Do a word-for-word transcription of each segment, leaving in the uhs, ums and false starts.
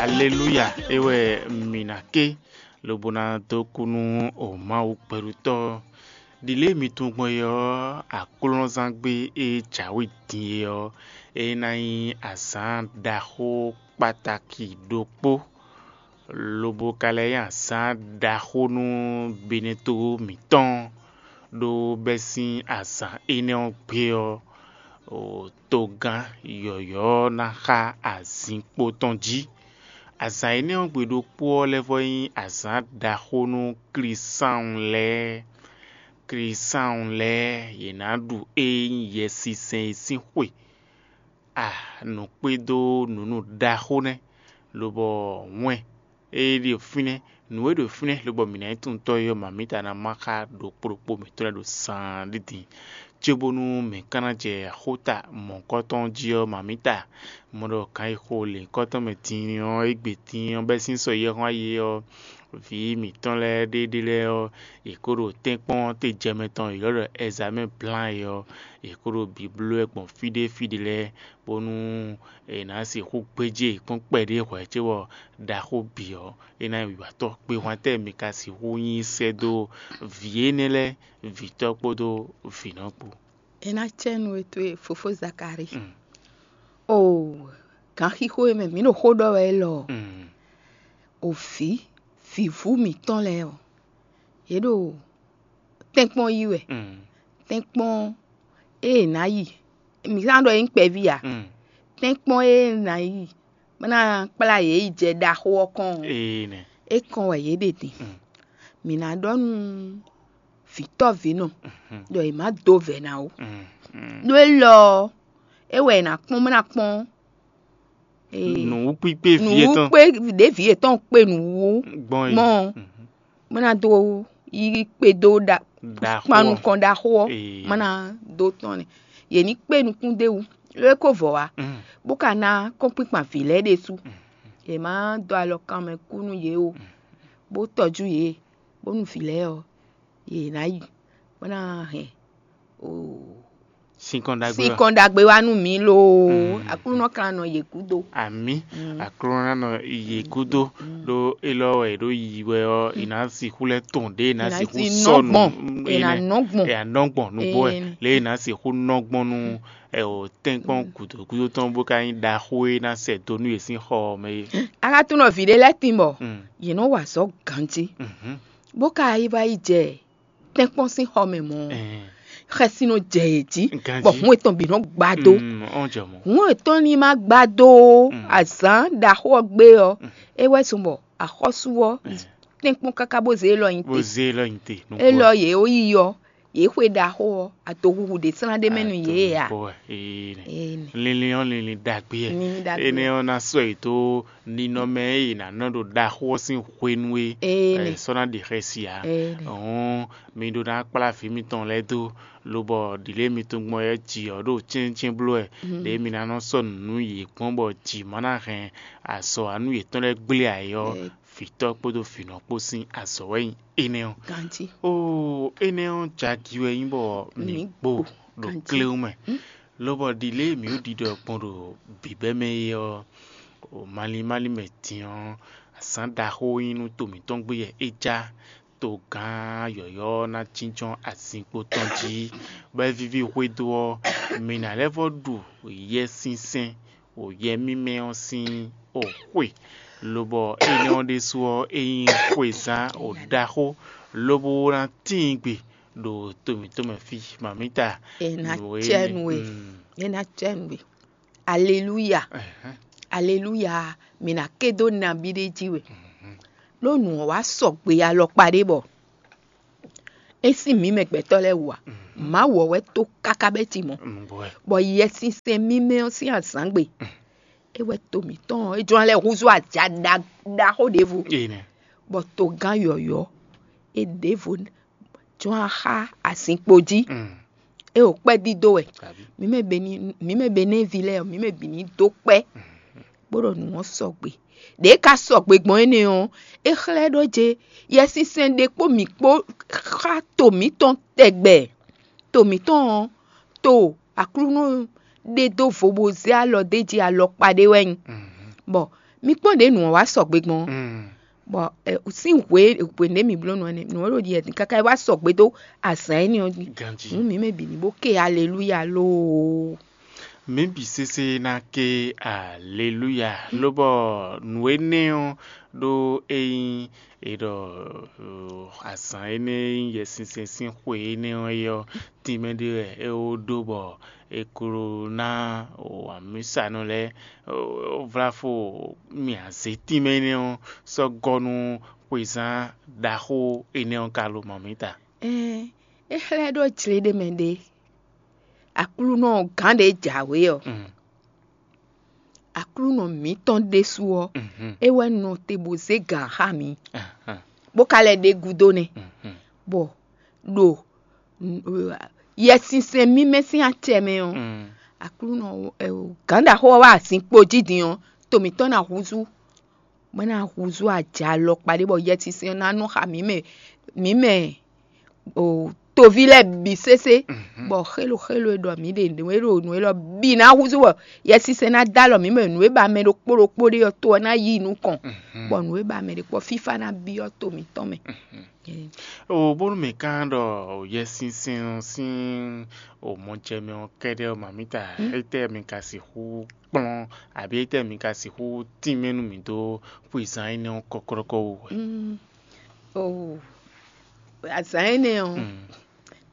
Aleluya! É wɛ mǐ ná ké, lobo ná dó kú nú o Mawu gbɛɖutɔ́. Ɖi lě e mi tunwun gbɔn é ɔ́, aklúnɔzángbe e jǎwe din é ɔ́, é ná nyí azǎn ɖaxó kpataki ɖokpó, lobo ka lɛ́ nyí azǎn ɖaxó nú Benɛ́to mǐtɔn, ɖó bɛ́sín azǎn énɛ́ ɔ́ gbe ɔ́, togán yɔ̌yɔ́ ɔ́ ná xá azinkpo tɔn jí. Azǎn énɛ́ ɔ́ gbe ɖokpó ɔ́ lɛ́ vɔ́ nyí azǎn ɖaxó nú Klísáun lɛ́ɛ. Klísáun lɛ́ɛ, yě ná ɖu ée nyí Yɛsinsɛn e sín xwe. A nǔ kpédó nǔ nú ɖaxó nɛ́, lobɔ wɛn e ɖo fínɛ́, nǔ e ɖo fínɛ́ lobɔ mǐ ná nyí tunwun tɔ́ é ɔ́, mamǐta ná má xá ɖokpó ɖokpó mǐtɔn lɛ́ɛ ɖo saan ɖídin, cóbónú mǐ ka ná jɛ xóta mɔ̌hunkɔtɔn jí ɔ́, mamǐta mɔ ɖɔ gǎn e xo lěhunkɔtɔn mɛ din ɔ́, égbé din ɔ́ bɛ́ sín sɔ yɛ́hɔ́n ayé ɔ́, vǐ mǐtɔn lɛ́ɛ ɖéɖé lɛ́ɛ ɔ́, yě kó ɖo tɛ́nkpɔ́n tejɛmɛ tɔn e è ylɔ́ ɖɔ ɛzamɛ́ blán é ɔ́, yě kó ɖo bǐ bló wɛ gbɔn fí ɖé fí ɖé lɛ́ɛ, bónú è nǎ sixú gbéjé yě kpɔ́n kpɛɖé hwɛ̌ cóbɔ ɖaxó bǐ ɔ́, é ná nyí wǐwatɔ́. Gbehwantɛ́ mi ka sixú nyí sɛ́ dó vǐ énɛ́ lɛ́ɛ, vǐtɔ́ kpódó vǐnɔ kpó? É ná cɛ nú we towe fofó Zakalíi. Mm. Oo, ganxixo e mɛ mǐ ɖo xó ɖɔ wɛ élɔ́ ɔ́, Mm. O vǐ, vǐvú mǐtɔn lɛ́ɛ ɔ́, yě ɖo tɛ́nkpɔ́n yí wɛ. Mm. Tɛ́nkpɔ́n e è nǎ yi, mǐ ná ɖɔ é nyí kpɛví ǎ. Mm. Tɛ́nkpɔ́n e è nǎ yi bó ná kplá yě yi jɛ ɖaxó ɔ́ kɔn ɔ́, Ee nɛ. É kɔn wɛ yě ɖe din. Mm. Mǐ ná ɖɔ nú vǐtɔ́vǐnɔ ɖɔ è má dó vɛ̌ ná ó. Mm. Mm. Ɖó élɔ́ ɔ́, é wɛ è nǎ kpɔ́n bó ná kpɔ́n Ee, Nǔwúkpíkpé vǐ yětɔn nǔwúkpé ɖěvi yětɔn kpe nǔwú gbɔn yi. Gbɔn Mhm. Bó ná dó yí kpédó ɖa Ɖaxó kpan ɔ́. Nukɔn ɖaxó ɔ́, Ee. Má ná dó tɔn nɛ. Yě ní kpé nukún d'é wú, ló é kó vɔ wá, Mm. Bó ka ná kɔ́nkpínkpan vǐ lɛ́ɛ ɖésú. Yě má dó alɔ kan mɛ kú nú yě o, bó tɔjú yě, bónú vǐ lɛ́ɛ ɔ́, yě ná yi, bó ná hɛn o Sinkɔn ɖagbe wá. Sinkɔn ɖagbe wá nú mǐ loo. Mm. Aklúnɔ kan nɔ yě gúdo. Àmì. Mm. Aklúnɔ ná nɔ yě gúdo. Mm. Ɖó élɔ́ wɛ è ɖó yi wɛ ɔ́, è nǎ sixú lɛ́ tɔn ɖě è nǎ È nǎ sixú ti sɔ́ nɔ nǔ gbɔn. È nǎ énɛ́. Nɔ gbɔn. È nǎ nɔ gbɔn nǔgbó wɛ. Énɛ́. Lě è nǎ sixú nɔ gbɔn nú ɛ o tɛ́nkpɔ́n gǔdo gúdo tɔn bó ka nyí ɖaxó e ná sɛ do nú yě sín xɔ ɔ́ mɛ é. Axatúnɔ vǐ ɖé lɛ́ɛ tín bɔ Mm. Yě nɔ wa azɔ̌ ganjí. Mhm. Bó ka yi wá yi jɛ tɛ́nkpɔ́n sín xɔ mɛ mɔ̌, Ɛɛ. Xɛsi nɔ jɛ yě jí, Ganjí. Bɔ hǔn etɔn bǐ nɔ gbá dó. Mm, ɔn jɛ mɔ. Hǔn etɔn ní ma gbá dó Mm. Azǎn ɖaxó ɔ́ gbé ɔ́, Mm. É wɛ zɔn bɔ axɔ́sú ɔ́ Ɛɛ. Tɛ́nkpɔ́n káká bó zé élɔ́ nyi Bó te. Zé élɔ́ nyi te. Nú Élɔ́ yě ó yi ɔ́, yě xwe ɖaxó ɔ́, adohuhu ɖě slán ɖ'é mɛ nú yě ǎ. Adohuhu wɛ. Ee nɛ. Ee nɛ. Linlin ɔ́, linlin ɖagbe wɛ. Linlin ɖagbe wɛ. Énɛ́ ɔ́ ná sɔ́ yě dó ninɔmɛ e è nǎ nɔ ɖo ɖaxó ɔ́ sín hwenu e Ee nɛ. È sɔ́ ná ɖi xɛsi ǎ. Ee nɛ. Hǔn mi ɖó ná kplá vǐ mitɔn lɛ́ɛ dó, lobɔ ɖǐlée mi tunwun gbɔn wɛ jǐ ɔ́ ɖo cɛ́nnyɛ́cɛ́n bló wɛ, Mhm. Ɖěe mi ná nɔ sɔ́ nǔ nú yě gbɔn bɔ jǐ ma ná hɛn azɔ̌ wá nú yětɔn lɛ́ɛ gblé ǎ é ɔ́, Ee. Vǐtɔ́ kpódó vǐnɔ kpó sín azɔ̌ wɛ nyí énɛ́ ɔ́. Ganjí. Oo, énɛ́ ɔ́ jagi wɛ nyí bɔ mǐ Mǐ gbo gbo ɖo ganjí. Kléwún mɛ. Hm? Lobɔ ɖi lě e mǐ ɖo ɖiɖɔ gbɔn ɖo bǐbɛ́ mɛ é ɔ́, o malín málín mɛ din ɔ́, azǎn ɖaxó nyí nú to mǐtɔn gbé wɛ é já. Togán yɔ̌yɔ́ ɔ́ ná jínjɔ́n azinkpo tɔn jí, bɔ é víví hwedó ɔ́, mǐ ná lɛ́ vɔ́ ɖu Yɛsinsɛn o yɛ mímɛ́ ɔ́ sín o xwe, lobɔ énɛ́ ɔ́ ɖésú ɔ́, é nyí xwezán o ɖaxó, lobo ná tíin gbe ɖo to mǐtɔn mɛ fí. Mamǐta, È nǎ nǔ e cɛ nú we. Mm. È nǎ cɛ nú we. Aleluya. Ɛhɛn. Aleluya. Mǐ ná ké dó nabí ɖé jí we. Mhm. Ɖó nǔ ɔ́ wá sɔgbe alɔkpa ɖé bɔ é sín mǐ mɛ gbɛtɔ́ lɛ́ɛ wú ǎ. Mhm. Mawu ɔ́ wɛ tó káká bɛ́ ci mɔ̌. Mm, bɔ ɛ. Bɔ Yɛsinsɛn mímɛ́ ɔ́ sín azǎngbe, Mm. É wɛ to mǐtɔn ɔ́, é jló ná lɛ́ húzú aja ɖa- ɖaxó ɖěvo. Ee nɛ. Bɔ togán yɔ̌yɔ́ é ɖěvo jló ná xá azinkpo jí. Mm. É o kpɛ́ dídó wɛ. Tàbí. Mǐ mɛ be ní mǐ mɛ be nɛ́ ví lɛ́ɛ ɔ́, mǐ mɛ bǐ ní dó kpɛ́. Mm. Bó ɖɔ nǔ ɔ́ sɔgbe. Ɖě ka sɔgbe gbɔn énɛ́ ɔ́, é xlɛ́ ɖó jɛ Yɛsinsɛn ɖe kpó mǐ kpó xá to mǐtɔn tɛgbɛ. To mǐtɔn ɔ́, to Aklúnɔ ɖe dó vo bó zé alɔ d'é jí alɔkpa ɖé wɛ nyí. Mhm. Bɔ Mi kpɔ́n ɖě nǔ ɔ́ wá sɔgbe gbɔn ɔ́. Bɔ ɛ, sín hwe hwe ɖě mi bló nǔ ɔ́ nɛ́, nǔ ɔ́ ɖo ɖi ɛ káká é wá sɔgbe dó azǎn énɛ́ ɔ́ jí. Ganjí. Nǔ mǐ mɛ bǐ ní bó ké aleluya loo. Mǐ bǐ sésé ná ké aleluya, lobɔ nǔ énɛ́ ɔ́ ɖó é nyí è ɖɔ azǎn énɛ́ e nyí Yɛsinsɛn sín xwe énɛ́ ɔ́ é ɔ́, tínmɛ ɖé wɛ é wó ɖó bɔ è ko ná amǐsanɔ lɛ́ɛ vláfo mì azě tínmɛ énɛ́ ɔ́ sɔ́ gɔ́ nú xwezán ɖaxó énɛ́ ɔ́ ka lo mɔ̌ mǐ ta. Ɛn, é xlɛ́ ɖó jlě ɖé mɛ ɖé. Aklúnɔ gǎn ɖě jǎwe ɔ́, Aklúnɔ mǐtɔn ɖésú ɔ́, é wɛ nɔ te bó zé gǎn xá mǐ, bó ka lɛ́ ɖe gúdo nɛ́, bɔ ɖo Yɛsinsɛn mímɛ́ sín acɛ mɛ ɔ́, Aklúnɔ gǎn ɖaxó ɔ́ wá azinkpo jí din ɔ́, to mǐtɔn ná húzú, bó ná húzú ajǎ alɔkpa ɖé bɔ Yɛsinsɛn ná nɔ xa mǐ mɛ, mǐ mɛ toví lɛ́ɛ bǐ sésé, bɔ xélo xélo e ɖɔ mǐ ɖe nǔ e ɖo nǔ élɔ́ bǐ ná húzú bɔ Yɛsinsɛn ná dó alɔ mǐ mɛ, nǔ e ba mɛ ɖokpó ɖokpó ɖe ɔ́ to ɔ́ ná yi nukɔn, bɔ nǔ e ba mɛ ɖokpó ɔ́ fífá ná byɔ́ to mǐtɔn mɛ. O bónú mǐ ka ɖɔ Yɛsinsɛn ɔ́ sín o mɔjɛmɛ ɔ́ kɛ́ɖɛ́ ɔ́, mamǐta, étɛ́ mi ka sixú kplɔ́n, abǐ étɛ́ mi ka sixú tínmɛ nú mǐ dó xwezán énɛ́ ɔ́ kɔ́klɔ́kɔ́ wú wɛ? Oo, azǎn énɛ́ ɔ́,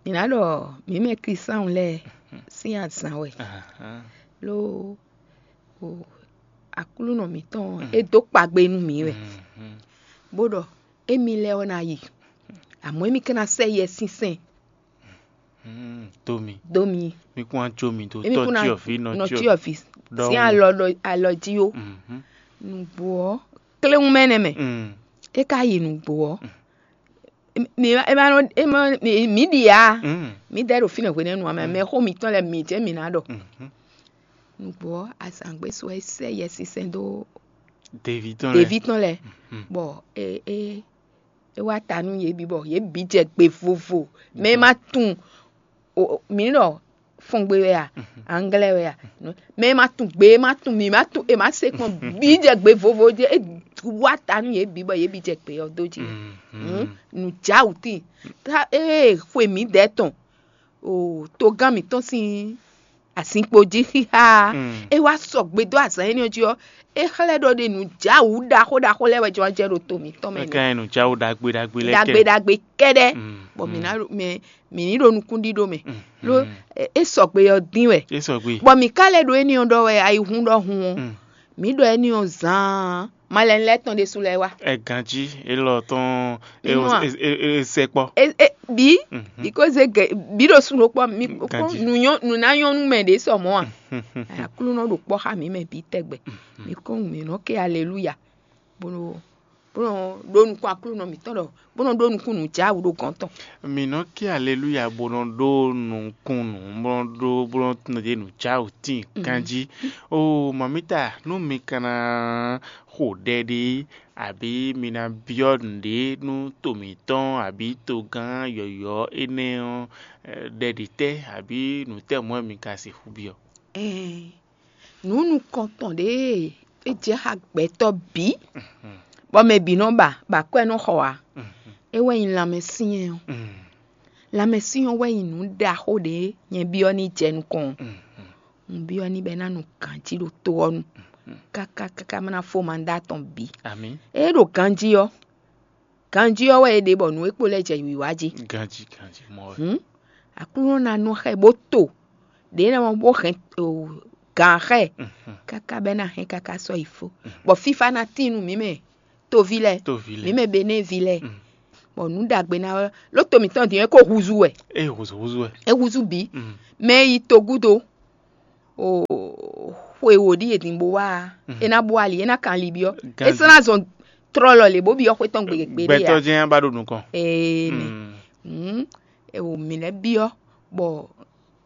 mǐ ná ɖɔ mǐ mɛ Klísáun lɛ́ɛ sín azǎn wɛ, ló Aklúnɔ mǐtɔn ɔ́, é dó kpagbe nú mǐ wɛ, bó ɖɔ émí lɛ́ɛ ɔ́ ná yi, amɔ̌ émí ka ná sɛ́ Yɛsinsɛn dó mi, dó mi. Mí kún wá jó mi dó émí kún ná tɔ́cyɔvǐ nɔ nɔcyɔvǐ sín alɔ alɔ jí ó. Nǔgbó ɔ́, kléwún mɛ nɛ́ mɛ, é ka yi nǔgbó ɔ́, mǐ ma nɔ mǐ ɖi ǎ. Mǐ dɛ́ ɖo fínɛ́ hwenɛ́nu ǎ mɛ, mɛ xó mǐtɔn lɛ́ɛ mǐ jɛ́n mǐ ná ɖɔ. Nǔgbó ɔ́, azǎngbé sɔ é sɛ́ Yɛsinsɛn dó Deví tɔn lɛ́ɛ. Deví tɔn lɛ́ɛ, bɔ é é é wá ta nú yě bǐ bɔ yě bǐ jɛ gbe vovo. Mɛ e ma tunwun mǐ ɖɔ fɔngbe wɛ a, anglɛ wɛ a, mɛ e ma tunwun gbe e ma tunwun mǐ ma tunwun è ma se kpɔn bǐ jɛ gbe vovo jí é wá ta nú yě bǐ bɔ yě bǐ jɛ gbe ɔ́ dó jí. Nǔjáwǔtín, ée xwe mǐdɛɛ tɔn togán mǐtɔn sín azinkpo jí xíxá, é wá sɔgbe dó azǎn énɛ́ ɔ́ jí ɔ́, é xlɛ́ ɖɔ ɖe nǔjáwǔ ɖaxó ɖaxó lɛ́ɛ wɛ jɔ́n jɛ ɖo to mǐtɔn mɛ. É ka nyí nǔjáwǔ ɖagbe ɖagbe lɛ́ɛ kɛ. Ɖagbe ɖagbe kɛ́ɖɛ́, bɔ mǐ ná mɛ mǐ ní ɖo nukúnɖíɖó mɛ, ló é sɔgbe ɔ́ dín wɛ. É sɔgbe. Bɔ mǐ ka lɛ́ ɖo énɛ́ ɔ́ ɖɔ wɛ ayihún ɖɔhun ɔ́, mǐ ɖɔ énɛ́ ɔ́ zaan malɛnu lɛ́ɛ tɔn ɖésú lɛ́ɛ wá. Ɛ ganjí élɔ́ tɔn é Inú a? É é é sɛkpɔ. E e bi Mhm. Biko ze ge bi ɖo sun ɖokpɔ mi kpɔkpɔ Ganji. Nu nyɔ nu na nyɔ nu mɛ ɖě sɔ mɔ a? Aklúnɔ ɖo kpɔ xa mi mɛ bi tɛgbɛ. Mi kɔ nu mi nɔ ke aleluya. Bó nɔ bó nɔ ɖo nukun aklúnɔ mi tɔn ɖɔ bó nɔ ɖo nukun nu ja wu ɖo gɔn tɔn. Mi nɔ ke aleluya bó nɔ ɖo nukun nu bó nɔ ɖo bó nɔ nɔ ɖe nu ja wu tin Mhm. Ganji. O mamita nú mi kana xo ɖɛ ɖe abǐ mi ná byɔ́ nǔɖé nú to mǐtɔn abǐ togán yɔ̌yɔ́ énɛ́ ɔ́, ɖɛ ɖě tɛ́ abǐ nǔ tɛ́ mɔ̌ wɛ mi ka sixú byɔ́? Ɛɛn, nǔ nukɔntɔn ɖě e é jɛ xá gbɛtɔ́ bǐ, bɔ mɛ bǐ nɔ ba, bɔ akwɛ́ nɔ xɔ ǎ, é wɛ nyí lanmɛsyɛ́n ɔ́. Lanmɛsyɛ́n ɔ́ wɛ nyí nǔ ɖaxó ɖě nyɛ byɔ́ ní jɛ nukɔn ɔ́. Un byɔ́ ní bɔ é ná nu ganjí ɖo to ɔ́ nu, káká káká má ná fó mandá tɔn bǐ. Amǐ. Ée ɖo ganjí ɔ́, ganjí ɔ́ wɛ é ɖe bɔ nǔ e kpo lɛ́ɛ jɛ wǐwá jí. Ganjí ganjí mɔ wɛ. Hǔn Aklúnɔ ná nɔ xá ɛ bó to ɖě ná mɔ bó hɛn o, gǎn xá ɛ káká bɔ é ná hɛn káká sɔ́ yi fó, bɔ fífá ná tín nú mǐ mɛ toví lɛ́ɛ, Toví lɛ́ɛ. Mǐ mɛ Benévi lɛ́ɛ, bɔ nǔ ɖagbe ná wɛ ló to mǐtɔn din é ko húzú wɛ. É húzú húzú wɛ. É húzú bǐ. Mɛ e yi togúdo o xwe wǒ ɖi è din bó wá a, é ná bó ali, é ná kan ali byɔ́. É sɔ́ ná zɔn tlɔlɔ lě bó byɔ́ xwé tɔn gbe gbe ɖé Gbɛtɔ́ a. Jɛ́n ba ɖo nukɔn. Ee nɛ. Mm. Hǔn e wò mǐ lɛ́ byɔ́ bɔ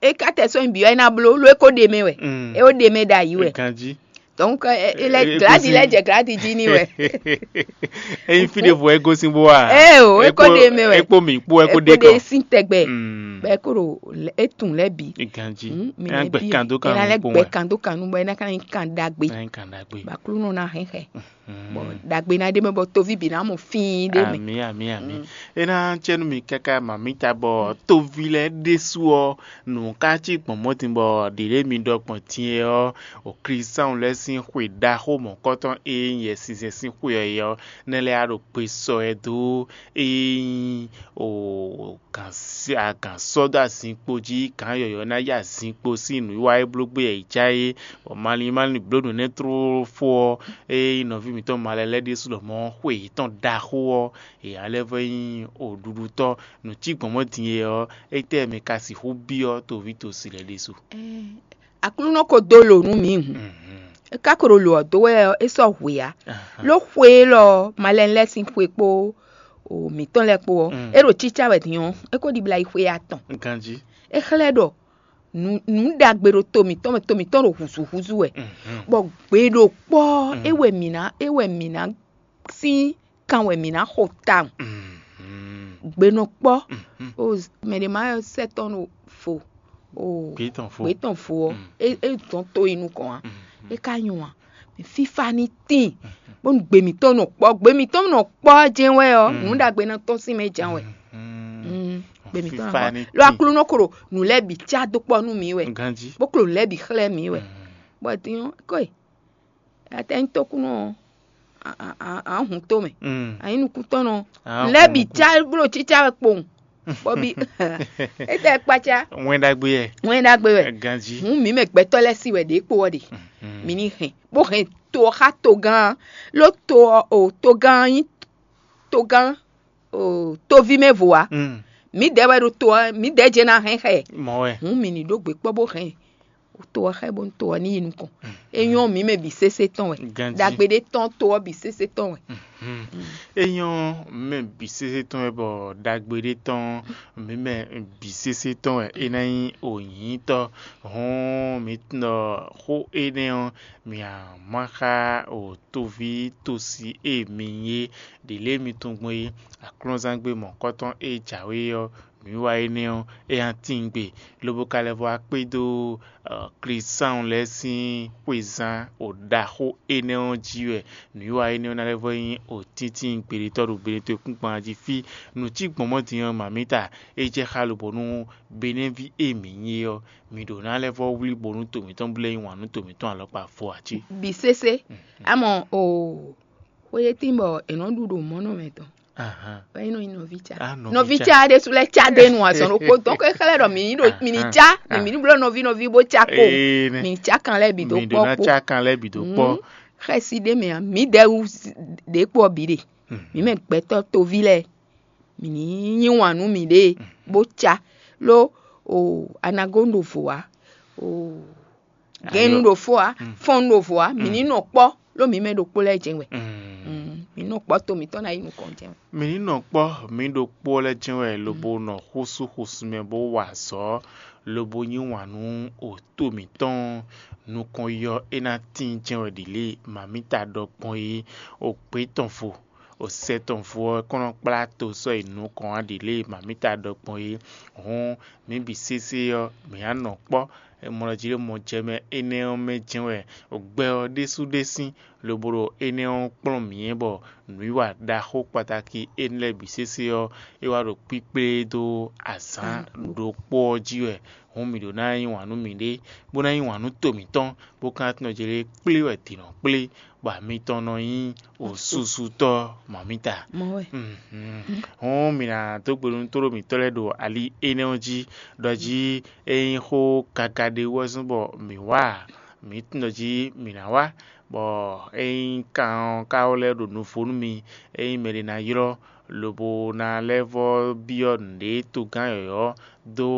é ka tɛ sɔ́ nyi byɔ́ é ná bló ló é ko ɖe mɛ wɛ. Mm. É ó ɖe mɛ ɖo ayǐ wɛ. Ganjí. Donc, ɛ- ɛ- lɛ Ɛ- gladi lɛ jɛ gladi jí ní wɛ. Eyin fi ɖe vo ego sin bo wa. Ee o, e ko ɖe mɛ wɛ. E kpo mi kpo e ko ɖe kɔ. Sín tɛgbɛ. Mm. Bɛ e ko ɖo lɛ- e tun lɛ bi. Ganji. Mm, mi Ɛ lɛ gbɛ bi kan do ɛ kan na lɛ nu gbɛ kpɔn. Kan do kan nu bɔ e na ka nyi kan dagbe. Ɛ kan dagbe. Baklunɔ na hɛn xɛ. Mm. Bɔ dagbe na ɖe mɛ bɔ tovi bi na mɔ fín ɖe mɛ. Ami ami ami. Mm. E na cɛ nu mi kaka mamita bɔ tovi lɛ ɖesu ɔ nǔ ka cí gbɔn mɔtin bɔ ɖiɖe mi ɖɔ gbɔn din ɔ o Kristian lɛ́ɛ sín xwe ɖaxó mɔ̌kɔtɔn e nyí Yɛsinsɛn sín xwe ɔ́ é ɔ́, nɛ́ lɛ́ɛ á ɖo gbe sɔ ɛ dó e nyí o gǎn sɔ́ dó azinkpo jí, gǎn yɔ̌yɔ́ ná yí azinkpo sín nǔwiwa e bló gbé yɛ yě cá é, bɔ malín malín bló nǔ énɛ́ tlóló fó ɔ́, ée nyí nɔví mǐtɔn malɛ lɛ́ɛ ɖésú lɔmɔ̌ xwe yětɔn ɖaxó ɔ́, yě ná lɛ́ vɔ́ nyí oɖuɖutɔ́. Nǔ cí gbɔn mɔ̌ din e ɔ́, étɛ́ mɛ ka sixú byɔ́ toví tosi lɛ́ɛ ɖésú? Aklúnɔ ko dó lǒ nú mǐ hǔn. É ka ko ɖo lǒ ɔ́ dó wɛ ɔ́, é sɔ́ hwe ǎ. Ló xwe élɔ́ ɔ́, malɛnu lɛ́ɛ sín xwe kpó o mǐtɔn lɛ́ɛ kpó ɔ́, é ɖo cícá wɛ din ɔ́, é ko ɖibla yi xwe atɔn. Ganjí. É xlɛ́ ɖɔ nǔ nǔ ɖagbe ɖo to mǐtɔn mɛ, to mǐtɔn ɖo hǔzúhúzú wɛ, bɔ gbe ɖo kpɔ́ é wɛ mǐ ná é wɛ mǐ ná sín kan wɛ mǐ ná xo tawun. Gbe nɔ kpɔ́ o mɛ ɖě ma sɛ́ tɔn ɖo fo o Gbě tɔn fo. Gbě tɔn fo ɔ́, é é dɔn tó yi nukɔn ǎ. É ka nyɔ ǎ. Mɛ fífá ní tíin bónú gbe mǐtɔn nɔ kpɔ́ gbe mǐtɔn nɔ kpɔ́ jɛ́n wɛ ɔ́, nǔ ɖagbe ná tɔ́n sín mɛ jǎn wɛ. Mm, gbe mǐtɔn nɔ Fífá kpɔ́ ní lo tíin. Aklúnɔ ko ɖo nǔ lɛ́ɛ bǐ cá dó kpɔ́ nú mǐ wɛ, Ganjí. Bó ko ɖo nǔ lɛ́ɛ bǐ xlɛ́ mǐ wɛ. Bɔ din ɔ́, kɔ́ e atɛ́nyítɔ́kúnɔ ɔ́, a- a- a- a hun tó mɛ. Mm. A nyí nukúntɔ́nɔ. A Lɛ́ hun bǐ nukún. Cá bló cícá wɛ kpowun. Bɔbi. Étɛ́ kpácá. Wɛn ɖagbe yɛ. Wɛn ɖagbe wɛ. Ganjí. Hǔn mǐ mɛ gbɛtɔ́ lɛ́ɛ sí wɛ ɖě kpo ɔ́ ɖe. Mm. Mǐ ní hɛn bó hɛn to ɔ́ xá togán. Ló to ɔ́ o togán nyí togán o toví mɛ vo ǎ. Mm. Mǐdɛɛ wɛ ɖo to ɔ́ mǐdɛɛ jɛ ná hɛn xɛ. Mɔ wɛ. Hǔn mǐ ní ɖó gbe kpɔ́ bó hɛn to ɔ́ xá ɛ bónú to ɔ́ ní yi nukɔn. É nyɔ́ mǐ mɛ bǐ sésé tɔn wɛ. Ganjí. Ɖagbe ɖé tɔn to ɔ́ bǐ sésé tɔn wɛ. É nyɔ́ mɛ bǐ sésé tɔn wɛ bɔ ɖagbe ɖé tɔn mǐ mɛ bǐ sésé tɔn wɛ é ná nyí ònyǐtɔ́. Hɔn mǐ tunɔ xó énɛ́ ɔ́, mǐ a má xá o toví tosi e mi nyí é ɖě lě mi tunwun gbɔn é aklúnɔzángbe mɔ̌kɔtɔn e jǎwe ɔ́, nǔwiwa énɛ́ ɔ́, é ná tíngbe, lobo ka lɛ́ vɔ́ wá kpédó Klísáun lɛ́ɛ sín xwezán ɖaxó énɛ́ ɔ́ jí wɛ nǔwiwa énɛ́ ɔ́ ná lɛ́ vɔ́ nyí tíntín gběɖétɔ́ ɖo gběɖétɔ́ kúnkpan jí fí. Nǔ cí gbɔn mɔ̌ din ɔ́, mamǐta, é jɛ xá lobɔ̌ nú Benɛ́ví e mǐ nyí é ɔ́, mǐ ɖǒ ná lɛ́ vɔ́ wlí bónú to mǐtɔn blɛ́ nyi wǎn nú to mǐtɔn alɔkpa vo ǎ cí. Bǐ sésé. Amɔ oo, xwéyétín bɔ è nɔ ɖu ɖo mɔ̌ nɔ mɛ tɔn. Ahan. Bɔ é nɔ nyi nɔví ca. Ah, nɔví nɔví ca. Ca ɖésú lɛ́ ca ɖe nu azɔn ɖokpó. Donc é xlɛ́ ɖɔ mǐ ní ɖo mǐ ní ca, mǐ ní bló nɔví nɔví bó ca kpo. Ee, nɛ. Mǐ ní ca kan lɛ́ɛ bǐ dó Mǐ ɖó kpɔ́ ná kpo. Ca kan lɛ́ɛ bǐ dó kpɔ́. Xɛsi ɖé mɛ ǎ, mǐ ɖɛ wú ɖě kpó ɔ́ bǐ ɖe. Mǐ mɛ gbɛtɔ́ toví lɛ́ɛ, mǐ ní yí wǎn nú mǐɖée bó ca, ló o anagónu ɖo vo ǎ, o gɛ́nnu ɖo fó ǎ, fɔ́nnu ɖo vo ǎ, mǐ ní nɔ kpɔ́, ló mǐ mɛ ɖokpó lɛ́ɛ jɛ́n wɛ. Mm, mǐ nɔ kpɔ́ to mǐtɔn ná yi nukɔn jɛ́n wɛ. Mǐ ní nɔ kpɔ́ mǐ ɖokpó lɛ́ɛ jɛ́n wɛ lobo nɔ xúsú xúsú mɛ bó wa azɔ̌, lobo yí wǎn nú o to mǐtɔn nukɔn yɔ é ná tíin jɛ́n wɛ ɖi lě mamǐta ɖɔ gbɔn é, o gbě tɔn vo, o sɛ tɔn vo ɔ́ kɔn nɔ kplá to sɔ́ yi nukɔn wá ɖi lě mamǐta ɖɔ gbɔn é. Hǔn mǐ bǐ sésé ɔ́, mǐ á nɔ kpɔ́ mlɔjilómɔ jɛ mɛ énɛ́ ɔ́ mɛ jɛ́n wɛ gbɛ ɔ́ ɖésú ɖé sín, lobo ɖo énɛ́ ɔ́ kplɔ́n mǐ bɔ nǔwiwa ɖaxó kpatáki énɛ́ lɛ́ɛ bǐ sésé ɔ́, é wá ɖo kpíkplé dó azǎn ɖokpó ɔ́ jí wɛ. Hǔn mǐ ɖó ná yí wǎn nú mǐɖée, bó ná yí wǎn nú to mǐtɔn, bó ka ná tunwun jlé kplé wɛ dǐ nɔ kplé, bɔ amitɔn nɔ nyí osúsútɔ́ mamǐta. Mɔ wɛ. Mhm. Hǔn mǐ ná dó gbe nú tóɖó mǐtɔn lɛ́ɛ ɖo ali énɛ́ ɔ́ jí, ɖɔ jí é nyí xó gaga ɖé wɛ zɔ́n bɔ mǐ wa ǎ. Mǐ tunwun ɖɔ jí mǐ ná wá, bɔ ényí kan ɔ́ ka lɛ́ ɖo nuvo nú mi, ényí mɛɖé ná ylɔ́, lobo ná lɛ́ vɔ́ byɔ́ nǔɖé togán yɔ̌yɔ́ dó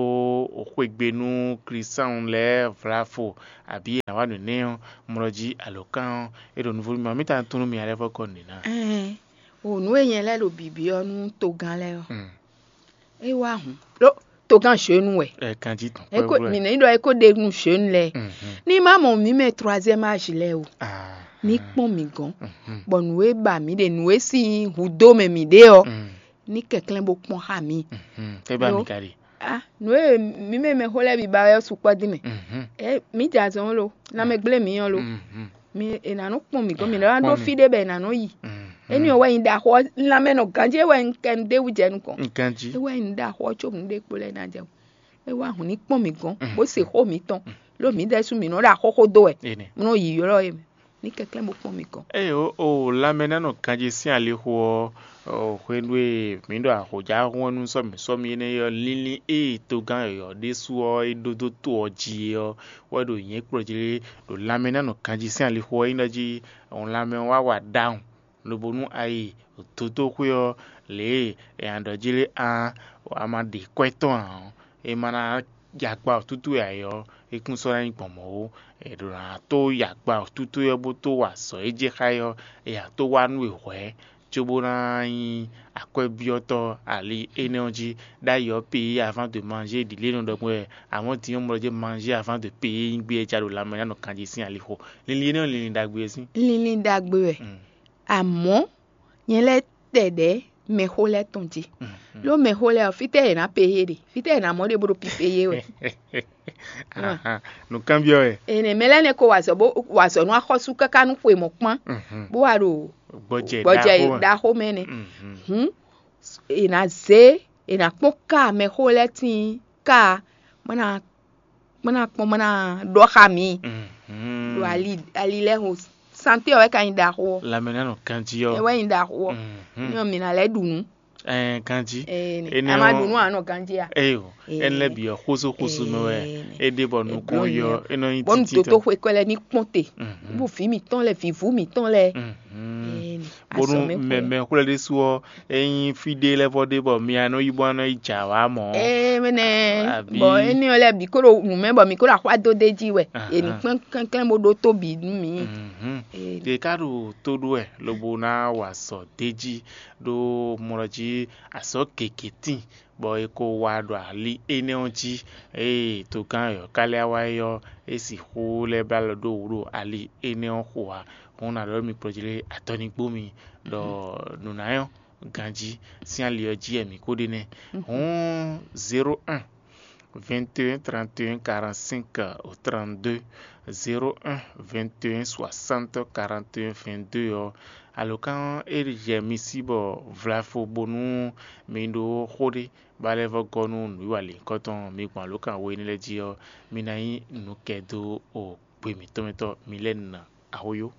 xwegbe nú Klísáun lɛ́ɛ vlavo, abǐ è nǎ wa nǔ nɛ́ ɔ́, mlɔ jí alǒkan ɔ́, é ɖo nuvo nú mi, mǐ ta tunú mi alɛ́ vɔ́ gɔ́ nǔɖé ná. Ɛn, o nǔ e nyɛ lɛ́ɛ ɖo bǐbyɔ́ nú togán lɛ́ɛ ɔ́, Mm. é wá hǔn. Ɖó togán jeune wɛ. Ɛ kanjí tɔn. Eko mi nɛ ɖɔ eko ɖe nu jeune lɛ. Ní má mɔ mǐ mɛ troisième âge lɛ o. Ní kpɔn mǐ gɔn. Bɔ nǔ e ba mǐ ɖe, nǔ e sín hudó mɛ mǐ ɖe ɔ, ní kɛnklɛ́n bó kpɔn xá mǐ. Tɛ ba mi ka ɖe. Ah, nǔ e mǐ mɛ mɛxó lɛ́ɛ bǐ ba wɛ ɔ́ sukpɔ́ dín mɛ. Ɛ mǐ jɛ azɔn lo, lanmɛ gblé mǐ ɔ́ lo. Mi è nǎ nɔ kpɔn mǐ gɔ́n, mǐ nɔ ná ɖó fí ɖé bɔ è nǎ nɔ yi. Éní ɔ́ wɛ nyí ɖaxó ɔ́, lanmɛ nɔ ganjí é wɛ un kɛ un ɖ'é wú jɛ nukɔn. Ganjí. É wɛ nyí ɖaxó ɔ́ có nǔɖé kpo lɛ́ɛ ná jɛ o. É wá hǔn ní kpɔ́n mǐ gɔ́n, bó se xó mǐtɔn. Ló mǐ ɖɛ́ sú mǐ nɔ ɖo axóxó dó wɛ. Énɛ́. Mí nɔ yi ylɔ́ é mɛ. Ní kɛnklɛ́n bó kpɔ́n mǐ gɔ́n. Ée o, o lanmɛ ná nɔ ganjí sín alixo ɔ́, o hwenu e mǐ ɖo ahɔ̌jahɔ́n ɔ́ nú sɔ́mǐ sɔ́mǐ énɛ́ ɔ́, linlin e togán yɔ̌yɔ́ ɖésú ɔ́ é ɖó dó to ɔ́ jí é ɔ́, wɛ ɖo nyɛ̌ kplɔ́ jí lé ɖo lanmɛ ná nɔ ganjí sín alixo ɔ́ nyí ɖɔ jí lanmɛ ɔ́ wá wa ɖawun, lobo nú a yi dotóxwé ɔ́, lě e è nǎ ɖɔ jí lé a, a ma ɖe kwɛ́ tɔn ǎ ɔ́, é ma ná ya agba wǔtútú wɛ ǎ é ɔ́, é kún sɔ́ ná nyí gbɔn mɔ̌ ó. È ɖǒ ná tó ya agba wǔtútú ɔ́ bó tó wa azɔ̌ e jɛ xá é ɔ́, è nǎ tó wá nú we hwɛ̌, cóbó ná nyí akwɛ́byɔ́tɔ́ ali énɛ́ ɔ́ jí. Ɖ'ayǐ ɔ́, payer avant de manger ɖi lě nɔ ɖɔ gbɔn wɛ, amɔ̌ din ɔ́, mlɔ jɛ manger avant de payer nyí gbé e ja ɖo lanmɛ ná nɔ kanjí sín alixo. Linlin énɛ́ ɔ́, linlin ɖagbe wɛ sín. Linlin ɖagbe wɛ. Amɔ̌ nyɛ lɛ́ tɛ ɖɛ̌ mɛxó lɛ́ɛ tɔn jí. Ló mɛxó lɛ́ɛ ɔ́, fítɛ́ yě ná peyé ɖe? Fítɛ́ yě ná mɔ ɖe bó ɖo pipeyé wɛ? Nǔkanbyɔ́ wɛ. Ene mɛ lɛ́ɛ nɛ ko wa azɔ̌ bó wa azɔ̌ nú axɔ́sú káká nú xwe mɔ̌ kpán, bó wa ɖo gbɔjɛ gbɔjɛ ɖaxó mɛ. Ɖaxó mɛ nɛ. Hǔn è nǎ zé, è nǎ kpɔ́n ká mɛxó lɛ́ɛ tíin ká, bó ná bó ná kpɔ́n bó ná ɖɔ xá mǐ. Ɖo ali ali lɛ́ɛ ho, santé ɔ́ wɛ ka nyí ɖaxó ɔ́. Lanmɛ ná nɔ ganjí ɔ́. Ɛ wɛ nyí ɖaxó ɔ́. Ní ɔ́ mǐ ná lɛ́ ɖu nǔ. Ɛɛ ganjí. Ene a ma ɖu nú a nɔ ganjí a? Eyo. Ɛn lɛ bǐ ɔ́ xóso xóso mɛ wɛ. É ɖe bɔ nukún yɔ é nɔ nyí bɔnu títí toto tɔn. Xwe kɔ lɛ ní kpɔn te. Bó vǐ mǐtɔn lɛ, vǐvú mǐtɔn lɛ. Bónú mɛmɛ xwlɛ ɖésú ɔ́, é nyí fí ɖé lɛ́ɛ vɔ ɖé bɔ mi a nɔ yi bɔ a nɔ yi jǎ wá mɔ̌. Ee mɛnɛ. Bɔ éní ɔ́ lɛ́ɛ bǐ kó ɖo nǔ mɛ bɔ mǐ kó ɖo axwá dó d'é jí wɛ. È nǐ kpɛ́n kɛnklɛ́n bó ɖótó bǐ nú mǐ. Yě ká ɖo tó ɖó wɛ lobo ná wa azɔ̌ d'é jí ɖó mlɔ jí azɔ̌ gěgé tíin, bɔ è ko wa ɖo ali énɛ́ ɔ́ jí. Ée togán yɔ̌kália wá é ɔ́, é sixú lɛ́ blá lɔ ɖó wǔ ɖo ali énɛ́ ɔ́ xo ǎ. Hǔn un ná ɖɔ nú mi kplɔ́ jí lé atɔ́ ní gbó mi ɖɔ nǔ ná nyɔ́ ganjí sín ali ɔ́ jí wɛ mǐ ko ɖe nɛ́. Hǔn zéro un, vingt et un, trente et un, quarante-cinq au trente-deux, zéro un, vingt et un, soixante, quarante et un, vingt-deux ɔ́, alǒkan e jɛ mi sí bɔ vlafo bónú mi ɖó xó ɖé ba lɛ́ vɔ́ gɔ́ nú nǔwiwa lěhunkɔtɔn mi gbɔn alǒkan we énɛ́ lɛ́ɛ jí ɔ́, mi ná nyí nǔkɛdó o gbe mǐtɔn mɛ tɔn mi lɛ́ɛ ná. Ahoyó.